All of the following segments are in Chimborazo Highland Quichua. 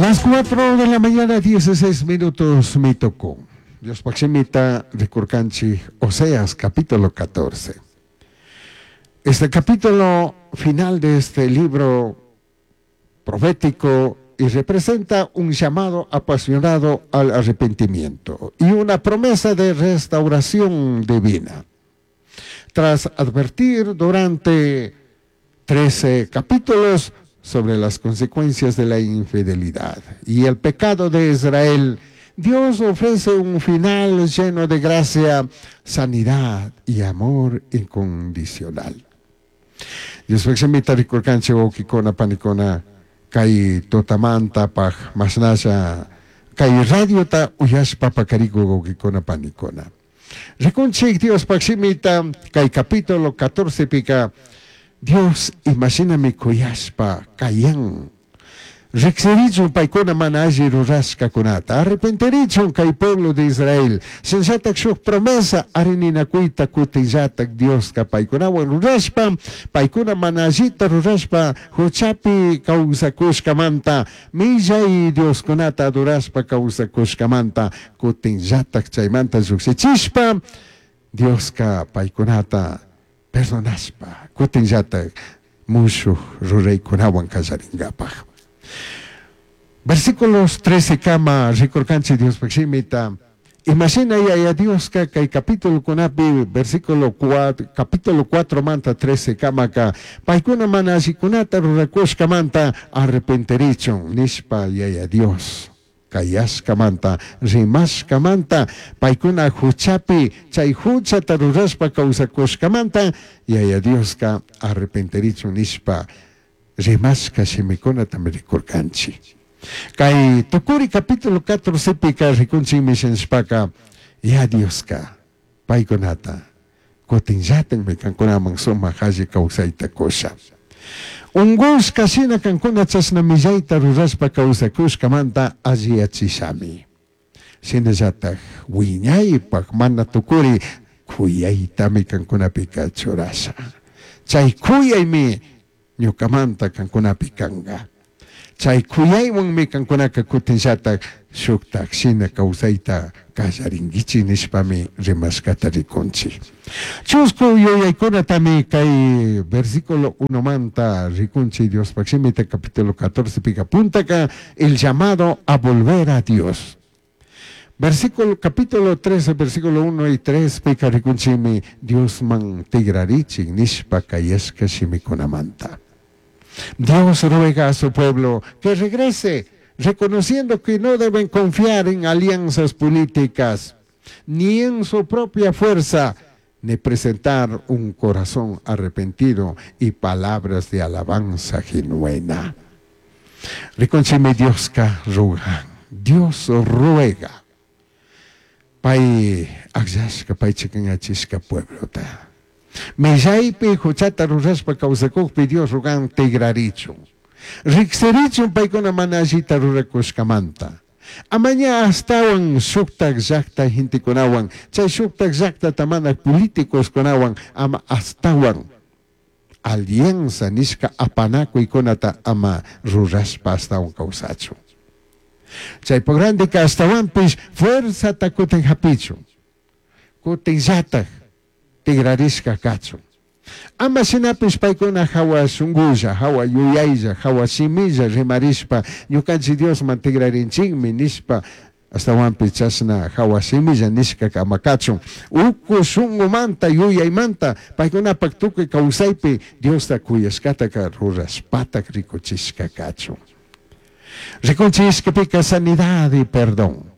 Las 4 de la mañana, 16 minutos, mi tocó. Diospaj shimita ricurcanchij Oseas capítulo 14. Este capítulo final de este libro profético y representa un llamado apasionado al arrepentimiento y una promesa de restauración divina. Tras advertir durante 13 capítulos sobre las consecuencias de la infidelidad y el pecado de Israel, Dios ofrece un final lleno de gracia, sanidad y amor incondicional. Diospaj shimita ricurcanchij huauquicuna panicuna cai tutamantapaj mashnalla cai radiota uyashpa pacaricuj huauquicuna panicuna. Ricunchij Diospaj shimita cai capítulo 14 pica Dios imashinami cuyashpa cayan. Rijsirichun paicuna mana alli rurashcacunata, arrepentirichun cai pueblo de Israel. Shinallataj shuj promesa arininacuita cutinllataj Diosca paicunahuan rurashpa, paicuna mana allita rurashpa juchapi causacushcamanta, millai dioscunata adorashpa causacushcamanta cutinllataj chaimanta llujshichishpa, Diosca paicunata perdonashpa cutinllataj mushuj ruraicunahuan callaringapaj. Versículos 13 kama ricurcanchij Diospaj shimita, imashina Yaya Diosca cai capitulocunapi versículo 4, capítulo 4 manta 13 kamaca paicuna mana allicunata ruracushcamanta arrepentirichun nishpa Yaya Dios cayashcamanta, rimashcamanta, paicuna juchapi chai juchata rurashpa causacushcamanta Yaya Diosca arrepentirichun nishpa rimashca shimicunatami ricurcanchij. Cai tucuri capítulo 14 pica ricunchijmi shinashpaca ya Diosca paicunata cutinllatajmi cancunaman sumaj alli causaita cusha. Ungushca shina cancuna chashna millaita rurashpa causacushcamanta alliyachishami. Shinallataj huiñaipaj mana tucuri cuyaitami cancunapica churasha. Chai cuyaimi ñucamanta cancunapi canga. Chai cuyaihuanmi cancunaca cutinllataj shujtaj shina causaita callaringuichij nishpami rimashcata ricunchij. Chuscu yuyaicunatami cai versículo 1manta ricunchij Diospaj shimita capítulo 14 pica puntaca el llamado a volver a Dios. Versículo, capítulo 13, versículo 1 y 3 pica ricunchijmi Diosman tigrarichij nishpa cayashca shimicunamanta. Dios ruega a su pueblo que regrese, reconociendo que no deben confiar en alianzas políticas, ni en su propia fuerza, ni presentar un corazón arrepentido y palabras de alabanza genuina. Ricunchijmi Diosca ruga, Dios ruega. Pai agllashca, pai chicanyachishca pueblota. Millaipi juchata rurashpa causacujpi Dios rugan tigrarichun. Rijsirichun paicuna mana allita ruracushcamanta. Amaña ashtahuan shujtaj llajta gentecunahuan, chai shujtaj llajtata mana políticoscunahuan ama ashtahuan alianza nishca apanacuicunata ama rurashpa ashtahuan causachun. Chaipaj randica ashtahuanpish fuerzata cutin japichun, cutinllataj tigrarishca cachun. Ama shinapish paicuna jahua shungulla, jahua yuyailla, jahua shimilla rimarishpa ñucanchij Diosman tigrarinchijmi nishpa ashtahuanpish chashna jahua shimilla nishca ama cachun. Ucu shungumanta, yuyaimanta paicunapaj tucui causaipi Diosta cuyashcataca rurashpataj ricuchishca cachun. Ricunchij ishquipica sanidad y perdón.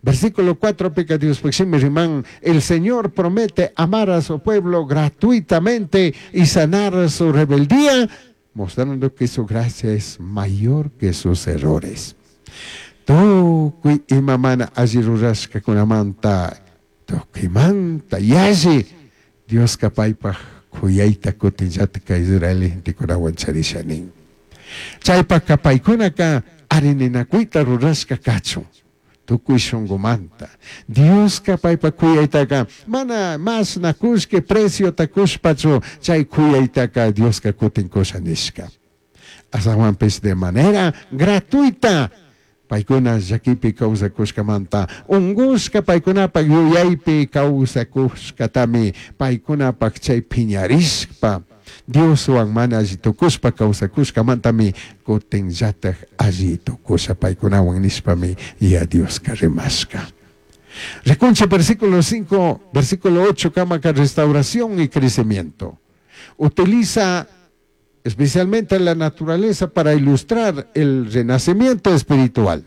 Versículo 4 pica Diospaj shimi riman, el Señor promete amar a su pueblo gratuitamente y sanar su rebeldía, mostrando que su gracia es mayor que sus errores. Tucui ima mana alli rurashcacunamanta, tucuimanta yalli Diosca paipaj cuyaita cutinllataj Israel gentecunahuan charisha nin. Chaipajca paicunaca arininacuita rurashca cachun. Tucui shungumanta. Diosca paipaj cuyaitaca mana mashna cullqui preciota cushpachu chai cuyaitaca Diosca cutin cusha nishca. Ashtahuanpish de manera gratuita. Paicuna llaquipi causacushcamanta, ungushca paicunapac yuyaipi causacushcatami paicunapac chai piñarishpa, Dioshuan mana alli tucushpa causacushcamantami cutinllataj alli tucusha paicunahuan nishpami Yaya Diosca rimashca. Ricunchij versículo 5, versículo 8 camaca restauración y crecimiento. Utiliza especialmente la naturaleza para ilustrar el renacimiento espiritual.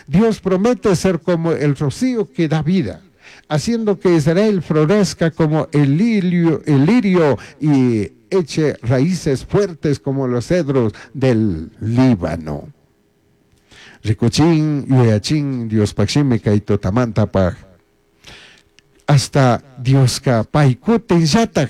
Dios promete ser como el rocío que da vida, haciendo que Israel florezca como el lirio, el lirio y eche raíces fuertes como los cedros del Líbano. Ricuchin, yuyachin, Diospaj shimi kay tutamantapaj. Hasta Diosca pai cutinllataj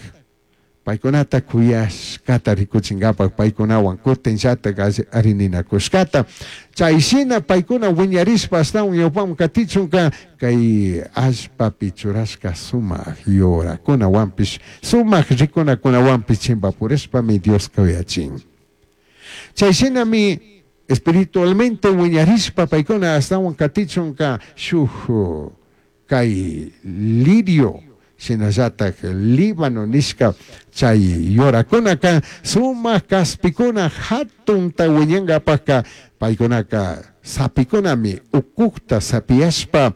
paicunata cuyashcata ricuchingapaj paicunahuan cutinllataj arininacushcata. Chai shina paicuna huiñarishpa ashtahuan ñaupaman catichunca cai allpapi churashca sumaj yuracunahuanpish, sumaj ricunacunahuanpish chimbapurishpami Diosca uyachin. Chai shinami espiritualmente huiñarishpa paicuna ashtahuan catichunca shuj cai lirio shinallataj Líbano nishca chai yuracunaca sumaj caspicuna jatunta huiñangapajca paicunaca sapicunami ucujta sapiyashpa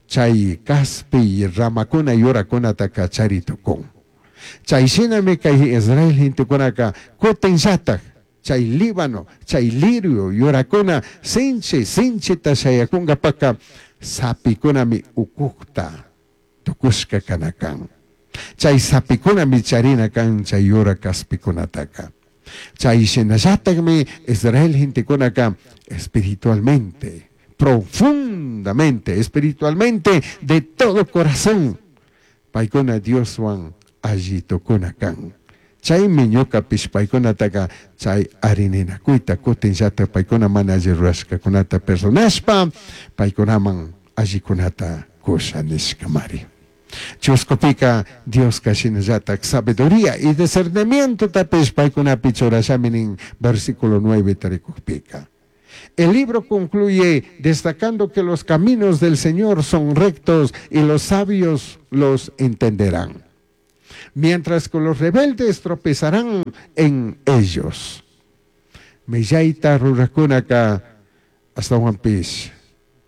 chai caspi ramacuna yuracunataca chari tucun. Chai shinami cai Israel gentecunaca cutinllataj chai Líbano, chai lirio yuracuna sinchi sinchita shayacungapajca sapicunami ucujta tucushca cana can. Chai sapicunami charina can chai yura caspicunataca. Chai shinallatajmi Israel gentecunaca espiritualmente, profundamente, espiritualmente, de todo corazón, paicuna Dioshuan alli tucuna can. Chaimi ñucapish paicunataca chai arininacuita cutinllataj paicuna mana alli rurashcacunata perdonashpa paicunaman allicunata cusha nishcamari. Chuscupica Diosca shinallataj sabiduría y discernimientotapish paicunapi churashami nin versículo 9 taricujpica. El libro concluye destacando que los caminos del Señor son rectos y los sabios los entenderán, mientras que los rebeldes tropezarán en ellos. Millaita rurajcunaca ashtahuanpish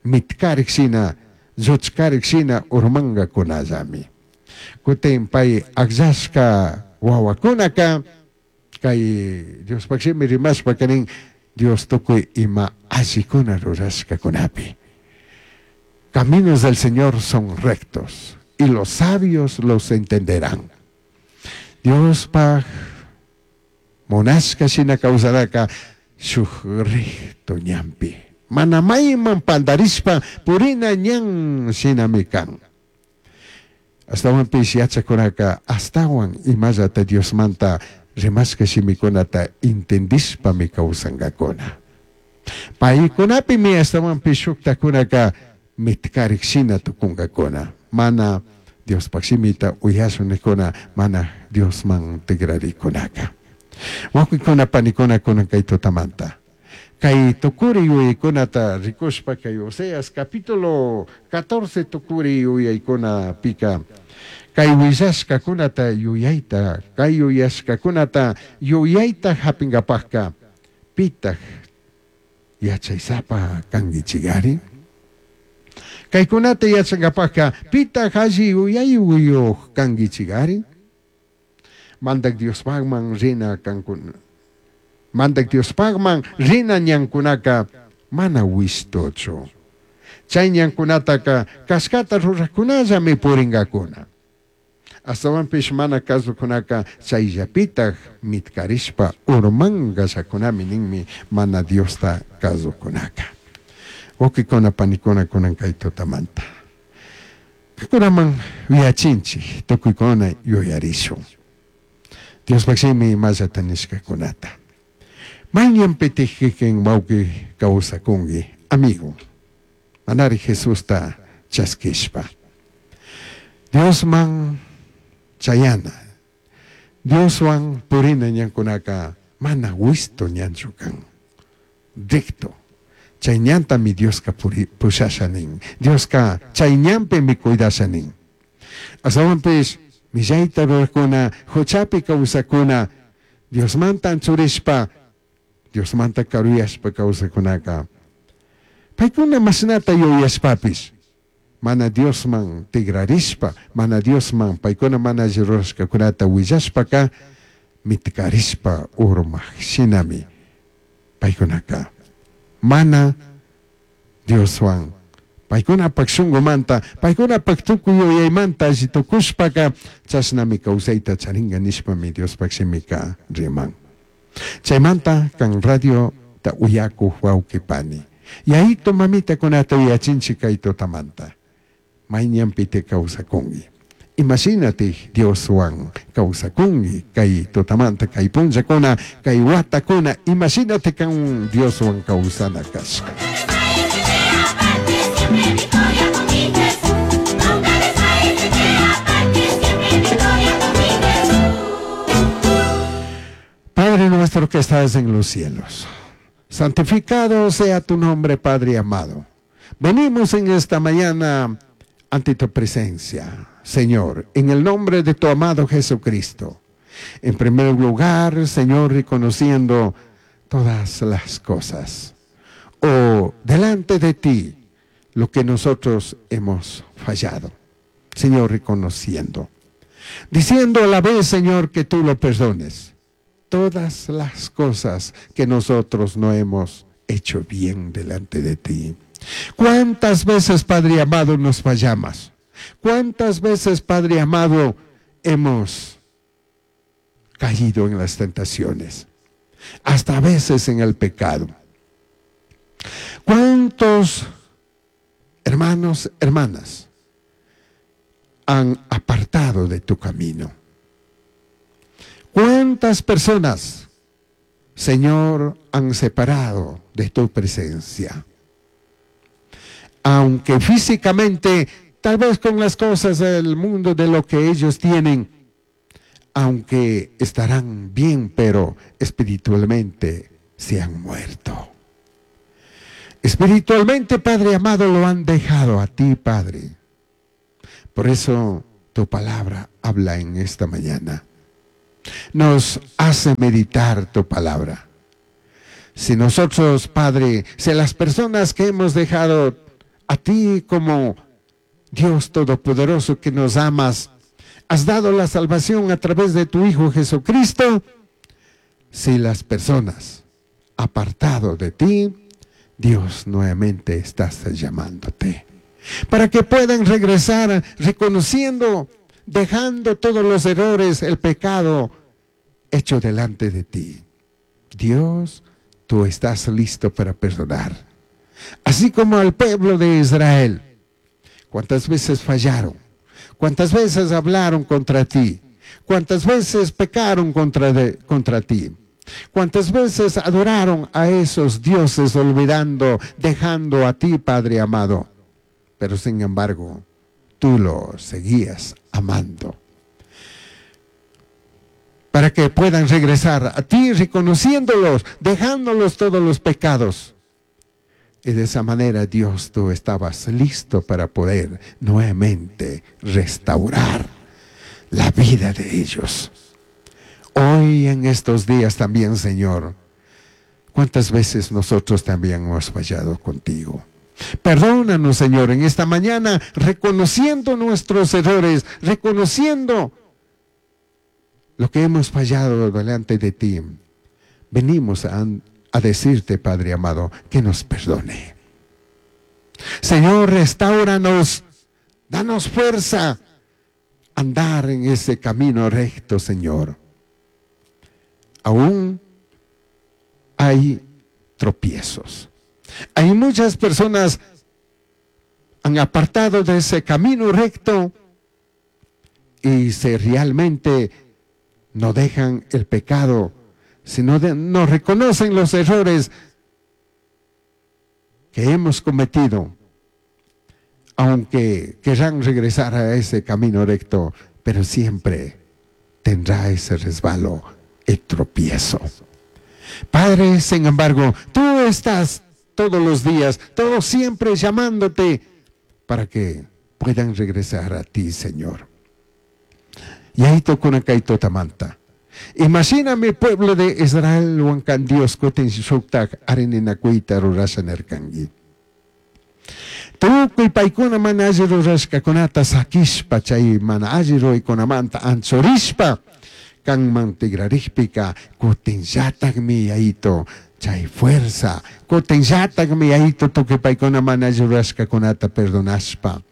mitcarik shina, lluchcarik shina urmangacunallami. Cutin pai agllashca huahuacunaca cai Diospaj shimi rimashpaca nin Dios tucui ima allicuna rurashcacunapi. Caminos del Señor son rectos y los sabios los entenderán. Diospaj munashca shina causanaca shuj recto ñanpi. Mana maiman pandarishpa purina ñan shinami can. Ashtahuanpish yachacunaca ashtahuan imallata Diosmanta rimashca shimicunata entendishpami causangacuna. Paicunapimi ashtahuanpish shujtacunaca mitcarik shina tucungacuna. Mana Diospaj shimita uyashun nijcuna mana Diosman tigraricunaca. Huauquicuna panicuna cunan cai tutamanta. Cai tucuri yuyaicunata ricushpa cai Oseas capítulo 14 tucuri yuyaicunapica cai huillashcacunata yuyaita, cai yuyashcacunata yuyaita japingapajca pitaj yachaisapa canguichigari? Caicunata yachangapajca pitaj alli yuyaiyuj canguichigari? Mandaj Diospajman rina cancuna. Mandaj Diospajman rina ñancunaca mana huishtuchu. Chai ñancunataca cashcata rurajcunallami puringacuna. Ashtahuanpish mana cazucunaca chaillapitaj mitcarishpa urmangallacunami ninmi mana Diosta cazucunaca. Huauquicuna panicuna cunan cai tutamanta. Cunaman yuyachinchij tucuicuna yuyarishun. Diospaj shimi imallata nishcacunata. Mai ñanpitaj kikin huauqui causacungui, amigo? Manari Jesusta chasquishpa. Diosman chayana, Dioshuan purina ñancunaca mana huishtu ñanchu can. Recto. Chay ñantami Diosca pushasha nin. Diosca chay ñanpimi cuidasha nin. Ashtahuanpish millaita rurajcuna, juchapi causajcuna, Diosmanta anchurishpa, Diosmanta caruyashpa causajcunaca, paicuna mashnata yuyashpapish, mana Diosman tigrarishpa, mana Diosman paicuna mana alli rurashcacunata huillashpaca, mitcarishpa urmaj shinami paicunaca mana Dioshuan paicunapac shungumanta, paicunapac tucui yuyaimanta alli tucushpaca chashnami causaita charinga nishpami Diospac shimica riman. Chaimanta can radiota uyacuj huauqui pani, yayitu mamitacunata uyachinchic cai tutamanta. Mai ñanpiti causacungui? Ima shinatic Dioshuan causacungui cai tutamanta, cai punllacuna, cai huatacuna, ima shinatic can Dioshuan causana cashca? Padre nuestro que estás en los cielos, santificado sea tu nombre, Padre amado. Venimos en esta mañana ante tu presencia, Señor, en el nombre de tu amado Jesucristo. En primer lugar, Señor, reconociendo todas las cosas, o delante de ti, lo que nosotros hemos fallado. Señor, reconociendo. Diciendo a la vez, Señor, que tú lo perdones. Todas las cosas que nosotros no hemos hecho bien delante de ti. ¿Cuántas veces, Padre amado, nos fallamos? ¿Cuántas veces, Padre amado, hemos caído en las tentaciones? Hasta a veces en el pecado. ¿Cuántos hermanos, hermanas han apartado de tu camino? ¿Cuántas personas, Señor, han separado de tu presencia? Aunque físicamente, tal vez con las cosas del mundo, de lo que ellos tienen, aunque estarán bien, pero espiritualmente se han muerto. Espiritualmente, Padre amado, lo han dejado a ti, Padre. Por eso tu palabra habla en esta mañana. Nos hace meditar tu palabra. Si nosotros, Padre, si las personas que hemos dejado a ti como Dios Todopoderoso que nos amas, has dado la salvación a través de tu Hijo Jesucristo, si las personas apartado de ti, Dios nuevamente está llamándote, para que puedan regresar reconociendo, dejando todos los errores, el pecado hecho delante de ti. Dios, tú estás listo para perdonar. Así como al pueblo de Israel, cuántas veces fallaron, cuántas veces hablaron contra ti, cuántas veces pecaron contra ti, cuántas veces adoraron a esos dioses olvidando, dejando a ti, Padre amado. Pero sin embargo, tú lo seguías amando. Para que puedan regresar a ti, reconociéndolos, dejándolos todos los pecados. Y de esa manera, Dios, tú estabas listo para poder nuevamente restaurar la vida de ellos. Hoy en estos días también, Señor, ¿cuántas veces nosotros también hemos fallado contigo? Perdónanos, Señor, en esta mañana, reconociendo nuestros errores, reconociendo lo que hemos fallado delante de ti. Venimos a decirte, Padre amado, que nos perdone. Señor, restáuranos, danos fuerza a andar en ese camino recto, Señor. Aún hay tropiezos. Hay muchas personas han apartado de ese camino recto y se realmente no dejan el pecado, sino no reconocen los errores que hemos cometido, aunque querrán regresar a ese camino recto, pero siempre tendrá ese resbalo, el tropiezo. Padre, sin embargo, tú estás todos los días, todos siempre llamándote para que puedan regresar a ti, Señor. Yaito kunan kay tutamanta. Imagina mi pueblo de Israel huancan Dios kutin shuktak arininakuyta rurasha nirkanki. Tukuy paykuna mana alli rurashkakunata sakishpa chay mana alli ruraykunamanta anchurishpa kanman tigrarikpika kutinllatakmi yayito chay fuerza kutinllatakmi yayito tukuy paykuna mana alli rurashkakunata perdonashpa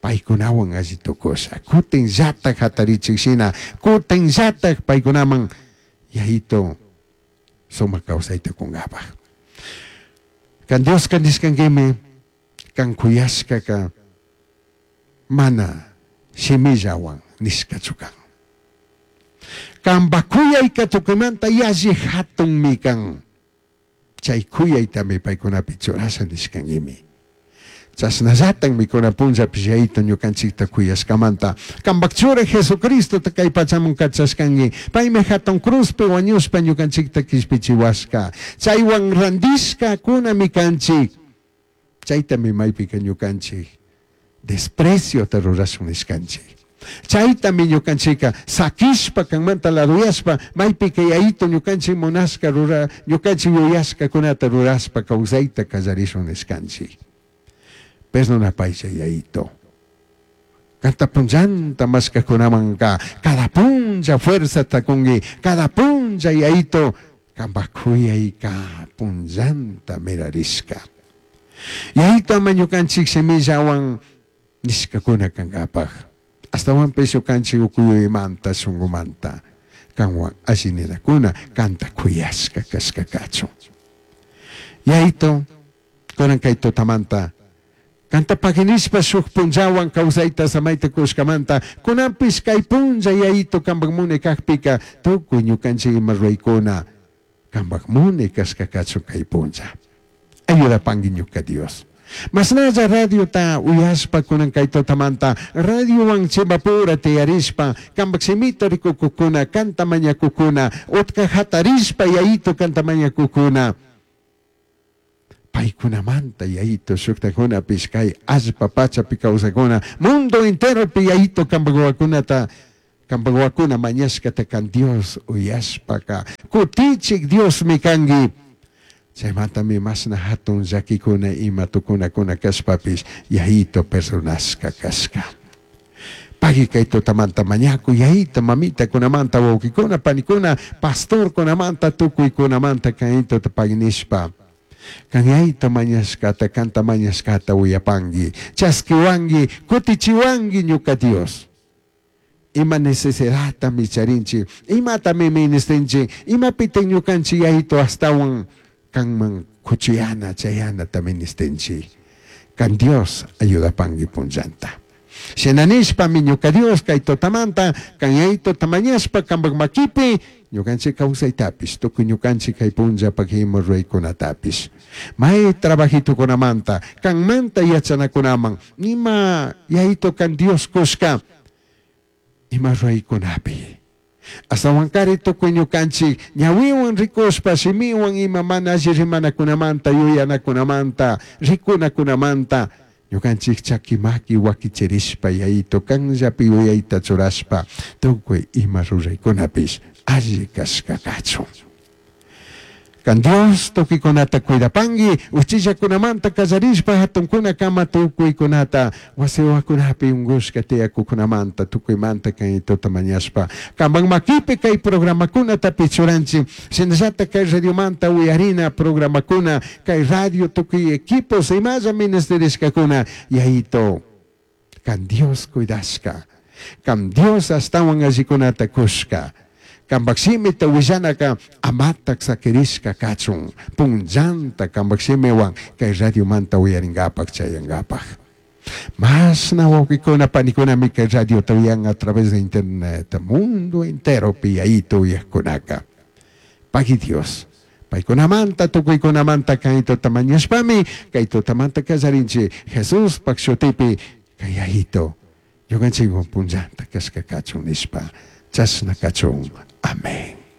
paykunawan alli tukusha kutinllatak hatarichik shina kutinllatak paykunaman yayito sumak kawsayta kunkapak. Kan Dioska nishkankimi kan kuyashkaka mana shimillawan nishkachu kan. Kanpa kuyayka tukuymanta yalli hatunmi kan. Chay kuyaytami paykunapi churasha nishkankimi. Chashnallatan mikuna punllapish yayito ñukanchikta kuyashkamanta. Kanpak churi Jesucristota kay pachaman kachashkanki. Paymi hatun cruzpi wañushpa ñukanchikta kishpichiwashka. Chaywan randishka kunami kanchik. Chaytami maypika ñukanchik despreciota rurashun nishkanchik. Chaytami ñukanchika sakishpa kanmanta laduyashpa maypika yayito ñukanchik munashka rura ñukanchik yuyashkakunata rurashpa kawsayta kallarishun nishkanchik. Perdonapaylla yayito. Kanta punllanta mashkakunamanka cada punlla fuerzata kunki, cada punlla yayito kanpak kuyayka punllanta mirarishka. Yayito ama ñukanchik shimillawan nishkakuna kankapaj. Ashtawanpish ñukanchik ukuyuymanta shunkumanta kanwan alli ninakuna kanta kuyashka kashka kachun. Yayito kunan kay tutamanta kanta paginishpa shuk punllawan kawsayta samayta kushkamanta kunanpish kay punlla yayito kanpak munay kakpika tukuy ñukanchik ima ruraykuna kanpak munay kashka kachun kay punlla. Ayudapanki ñuka Dios. Mashnalla radiota uyashpa kunan kay tutamanta radiowan chimbapura tiyarishpa kanpak shimita rikukukuna kanta mañakukuna utka hatarishpa yayito kanta mañakukuna paykunamanta yayito shuktakunapish kay allpa pachapi kawsakuna mundo enteropi yayito kanpak wawakunata kanpak wawakuna mañashkata kan Dios uyashpaka kutichik Diosmi kanki. Chaymantami mashna hatun llakikuna ima tukunakuna kashpapish yayito perdonashka kashka. Pagui kay tutamanta mañaku yayito mamitakunamanta wawkikuna panikuna pastorkunamanta tukuykunamanta kaytota paginishpa. Kan yayito mañashkata kanta mañashkata uyapanki chaskiwanki kutichiwanki ñuka Dios. Ima necesidadtami charinchik, imatami ministinchik, imapitik ñukanchik yayito astawan kanman kuchuyana chayanata ministinchik. Kan Dios ayudapanki punllanta. Shinanishpami ñuka Dios kay tutamanta kan yayito tamañashpa kanpak makipi ñukanchik kawsaytapish tukuy ñukanchik kay punllapak ima ruraykunatapish. May trabajitukunamanta kanmanta yachanakunaman ima yayito kan Dios kushka ima ruraykunapi. Ashtawankari tukuy ñukanchik ñawiwan rikushpa shimiwan ima mana alli rimanakunamanta yuyanakunamanta rikunakunamanta ñukanchik chaki maki wakichirishpa yayito kanllapi yuyayta churashpa tukuy ima ruraykunapish alli kashka kachun. Kan Dios tukuykunata cuidapanki uchillakunamanta kallarishpa hatunkunakama tukuykunata wasiwakunapi unkushka tiyakukunamanta tukuymanta kaytota mañashpa kanpak makipi kay programakunata churanchik shinallatak kay radiomanta uyarina programakuna kay radio tukuy equipos imalla ministerishkakuna yayito kan Dios cuidashka kan Dios ashtawan allikunata kushka kanpak shimita willanaka amatak sakirishka kachun punllanta kanpak shimiwan kay radiomanta uyarinkapak chayankapak. Mashna wawkikuna panikunami kay radiota uyan a través de internet mundo enteropi yayito uyakkunaka. Pagui Dios. Paykunamanta tukuykunamanta kaytota mañashpami kay tutamanta kallarinchik Jesuspak shutipi kay yayito ñukanchikwan punllanta kashka kachun nishpa chashna kachun. Amén.